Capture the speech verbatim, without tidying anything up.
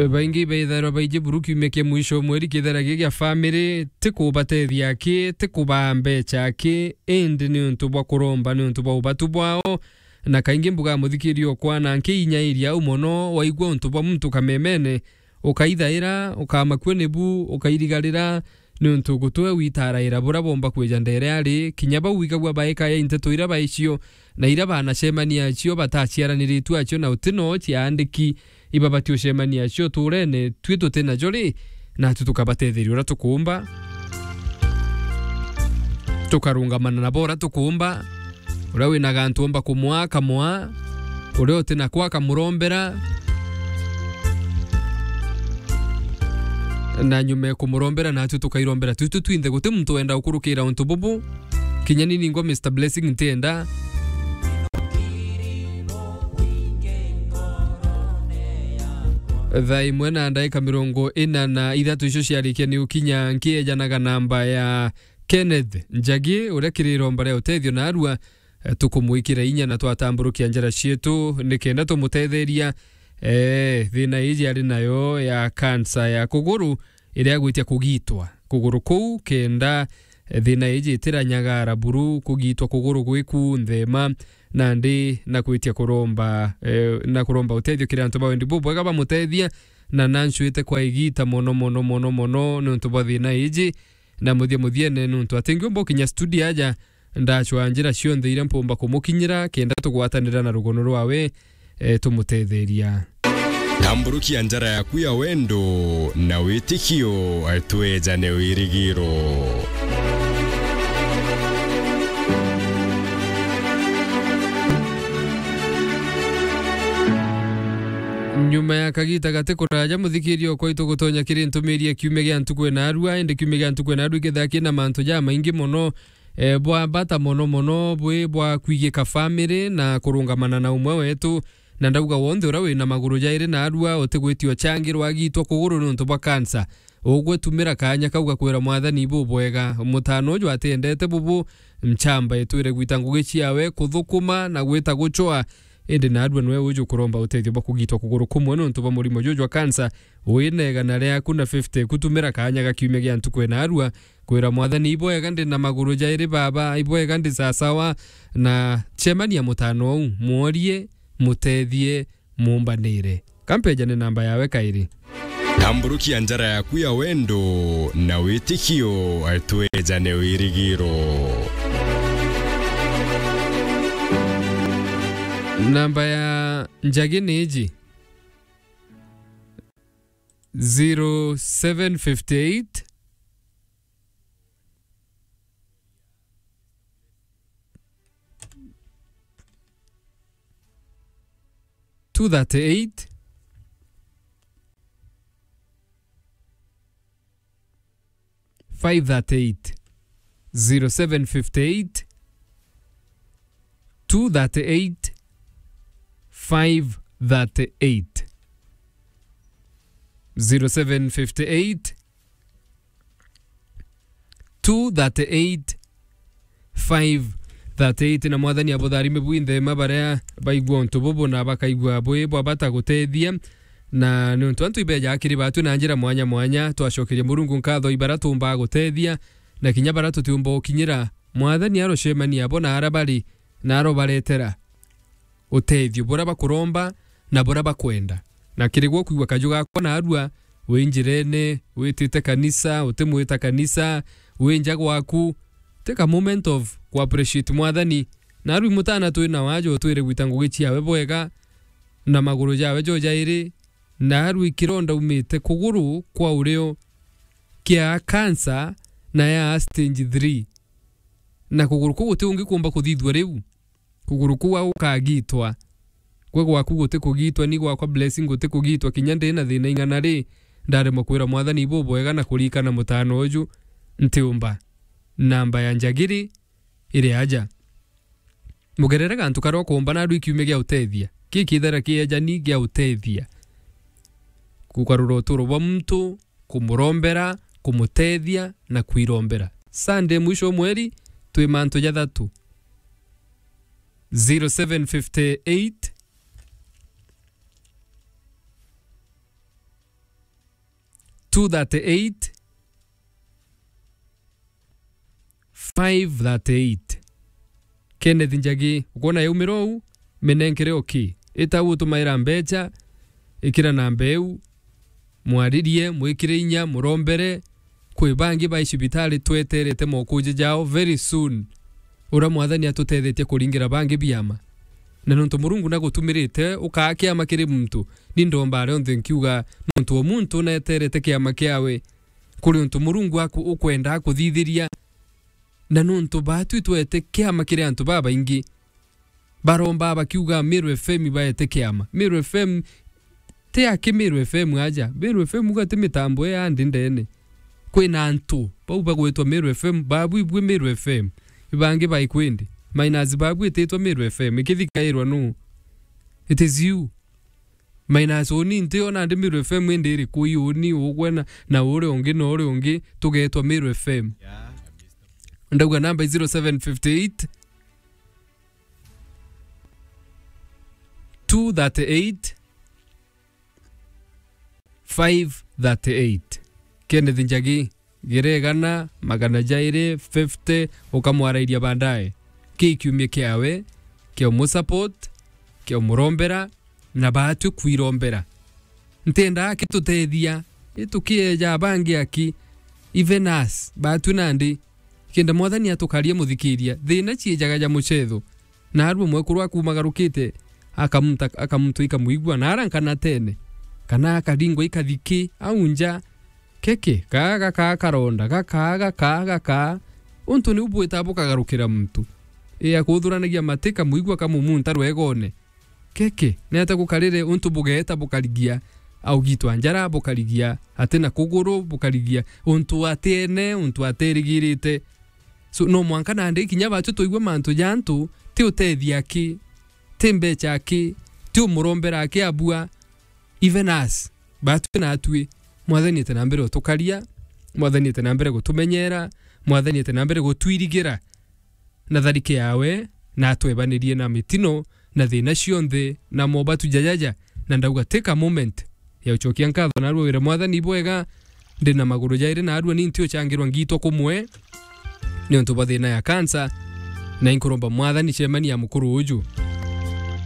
Baingi ibaithairwa baiji buru kiumia kia mwisho o mweri kithera gi gia family, ti kubatethia aki, ti kubaa mbecha aki, indi ni untu bwa kuromba ni untu bwa ubatu bwao. Na kaingi mbuga muthikiria okwa na nkiinyairia au mono, waigua untu bwa muntu kamemene, ukaithaira, ukamakua nibu, ukairigarira, ni untu gutwe witaraira bura bomba kwija ndere ari, kinya bau wigagua baikaya inteto ira baicio, na ira banacemania acio bataciaraniritue acio na uti no ciaandiki, ibabati ucemania acio uturene, tui tuti najo ri, natu tukabatetheria uria tukuumba, tukarungamana nabo uria tukuumba. Uria wina gantu omba kumwaa, akamwaa. Uria uti nako, akamurombera. Na nyuma ya kumurombera, natu tukairombera tui tu twinthe. Guti muntu wenda gukurukira untu bubu. Kinya ni ningwa Mister Blessing ntienda. Thaa imwe na ndaika mirongo ina na ithatu icio ciarikia ni ukinya, nkiejanaga namba ya Kenneth Njagi, uria kiri iromba ria utethio narua, eh, tukumwikira inya na twatamburukia njara cietu nikenda tumutetheria, eh, thina iji ari nayo ya kansa ya kuguru, iria agwitia kugitwa kuguru kuu, kenda, eh, thina iji itiranyagara buru, kugitwa kuguru gwiku nthema, nandi na gwitia kuromba, eh, na kuromba utethio kiri antu ba wendi bubwega bamutethia, na nancwite kwa igita mono, mono, mono, mono, niuntu bwa thina iji, na muthia muthiene, niuntu atingiumba ukinya studio aja, ndacwaa njira cionthe iria mpumba kumukinyira, kenda tugwatanira na rugono rwawe, eh, tumutetheria. Tamburukia njara yaku ya wendo na witikio, eh, twejane wirigiro. Nyuma ya kagita gati kuraja, muthikiria okwa itugutonya kiri ntumiri ya kiumia gia ntuku ena arua, indi kiumia gia ntuku ena arua ikethira kina mantu jamaingi mono, eh, bwa bata mono mono bwi bwa kwigika family na kurungamana na umwe wetu. Na ndauga wonthe uria wina maguru jairi na arua utigwitia uchangirwa agitwa kuguru niuntu bwa kansa, ugwe tumira kaanya kau gakwira Mwathani bubwega. Mutano uju atiendete bubu, nchamba itwire gwita ngugi ciawe kuthukuma na gwita gucwa, indi na arua niwe uju kuromba utethio bwa kugitwa kuguru kumwe niuntu bwa murimo juju jwa kansa. Wina igana riaku na fifty, kutumira kaanya ga kiumia gia ntuku ena arua, kwira Mwathani, ibwega ndi na maguru jairi baba, ibwega ndi sasawa, na cemania mutano uu, mworie, mutethie, muumbanire. Kampejane namba yawe kairi. Tamburukia njara yaku ya wendo na witikio, twejane wirigiro. Namba ya Njagi ni iji. Zero seven fifty eight, two thirty eight, five thirty eight, zero seven fifty eight, two thirty eight, five thirty eight, zero seven fifty eight, two thirty eight, five thirty eight. Na Mwathani abutharime bwinthe ma baria baigua untu bubu na bakaigua bwi bwa bata gutethia. Na niuntu antu ibeja akiri batu na njira mwanya mwanya, twacokeria Murungu nkatho ibara tumba gutethia, na kinya bara tutiumba ukinyira. Mwathani arocemania abo na ara bari, na arobaretera utethio buria bakuromba na buria bakwenda. Na kiri gwo kwigua kaju gakwa narua, wi njirene, witite kanisa, utimwita kanisa, wi nja gwaku, take a moment of ku appreciate Mwathani. Narua mutana twina wajo twire gwita ngugi ciawe bwega, na maguru jawe jo jairi, narua kironda umite kuguru kwa urio kia cancer na ya stage three. Na kuguru kuu guti ungi kumba kuthithua riu. Kuguru kuu a gukagitwa. Gwe gwaku guti kugitwa, ni gwakwa Blessing guti kugitwa, kinya ndi na thina ing'ana ri, ndaremwa kwira Mwathani bubwega na kurikana mutano uju, ntiumba. Namba ya Njagiri iri aja. Mugerere gantu karia ukumba narua kiumia gia utethia. Ki kithera kiejani gia utethia. Kugarura uturo bwa muntu, kumurombera, kumutethia na kwirombera. Sunday mwisho wa mweri, twi mantu jathatu. Zero seven fifty eight, two thirty-eight, five thirty-eight. Kenneth Njagi, ukwona yaumira uu, minenkere oki. Ita utumaira mbecha, ikira namba iu, mwaririe, mwikire inya, murombere. Kwi bangi bai cibitari tweterete mokuja jao very soon. Uria Mwathani atutethetie kuringira bangi biama. Na nontu Murungu nagutumirite ukaa kiama kiri muntu, ni ndomba aria onthe nkiuga, nontu o muntu neterete kiama kiawe, kuri untu Murungu aku-, ukwenda akuthithiria. Na nontu baatu itwete kiama kiri antu babaingi, baromba bakiuga Meru F M ibaete kiama. Meru F M ti aki Meru F M aja. Meru F M uga ti mitambo ya ndi ndene. Kwina antu bau bagwetwa Meru F M, babu ibue Meru F M. Ibangi bai kwindi. Minus babu ititwa Meru F M. Ikithikairwa nu? It is you. Minus uni nti ona ndi Meru F M indi iri kui uni ugwe na, na uri ungi na uri ungi tugetwa Meru F M. Yeah. Ndauga namba zero seven fifty eight, two thirty-eight, five thirty-eight. Kenneth Njagi, gira igana, magana jairi fifty, ukamwarairia baadaye. Ki kiumia kiawe, kia umusupport, kia umurombera, na baatwi kwirombera. Ntiendaa kitutethia, itukieja bangi aki, even us, baatwi nandi. Kenda Mwathani atukarie muthikiria, thina ciejaga ja mucetho. Naarua mwekuru akumagarukite, akamuta-, akamuntwa ikamwigua, na ara nkanatene, kana akaringwa ikathiki, au nja, keke, kaa gakaa karonda, gakaa, gakaa, gakaa. Untu niu bwita bukagarukira muntu. Ii akuthuranagia mati kamwigua kamumunta rwegone. Keke, neeta gukarire untu bugeeta bukarigia, augitwa njara bukarigia, ati na kuguru bukarigia, untu atiene, untu aterigirite. So, no mwanka nandi kinya baatu tuigwe mantu ja antu, ti utethia aki, ti mbecha aki, ti umurombera aki abua, even us, baatu natwi, Mwathani ete na mbere utukaria, Mwathani ete na mbere gutumenyera, Mwathani ete na mbere gutwirigira. Na tharike yawe, na atwebanirie na mitino, na thina cionthe, na mobatu jajaja, na ndauga, take a moment ya ucokia nkatho na arua wire Mwathani bwega, ndi na maguru jairi na arua ni nti ucangirwa ngitwa kumwe, ni untu bwa thina ya cancer, na inkuromba Mwathani cemania mukuru uju.